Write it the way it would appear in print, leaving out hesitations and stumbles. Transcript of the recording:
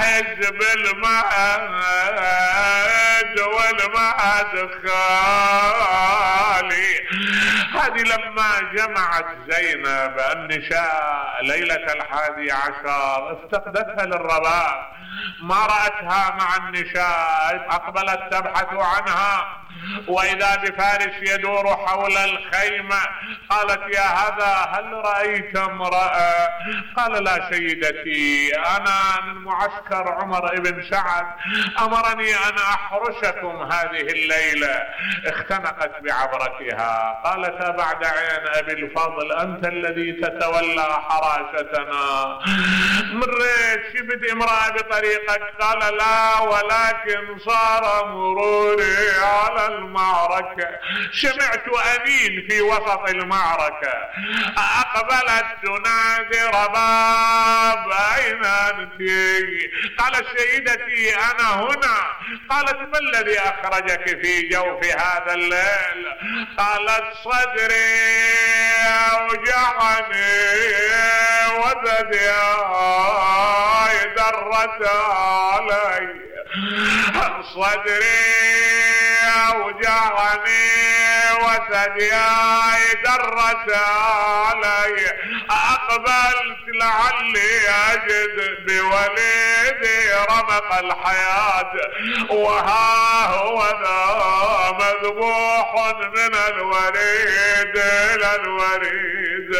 احس بالمهد والمهد خالي. هذه لما جمعت زينب النساء ليلة 11 افتقدتها للرباب، ما رأتها مع النساء، اقبلت تبحث عنها، واذا بفارس يدور حول الخيمة. قالت: يا هذا هل رأيت امرأة؟ قال: لا سيدتي، انا من معسكر عمر بن سعد، امرني ان احرسكم هذه الليلة. اختنقت بعبرتها، قالت: بعد عين ابي الفضل، انت الذي تتولى حراستنا، مريت شفت امرأة بطريقك؟ قال: لا، ولكن صار مروري على المعركة، سمعت أنين في وسط المعركة، أقبلت تنادي: رباب أين أنت؟ قالت: سيدتي أنا هنا. قالت: ما الذي أخرجك في جوف هذا الليل؟ قالت: صدري أوجعني وثدي درت علي، صدري أوجعني وثدياي درت علي، أقبلت لعلي أجد بوليدي رمق الحياة، وها هو ذا مذبوح من الوريد إلى الوريد.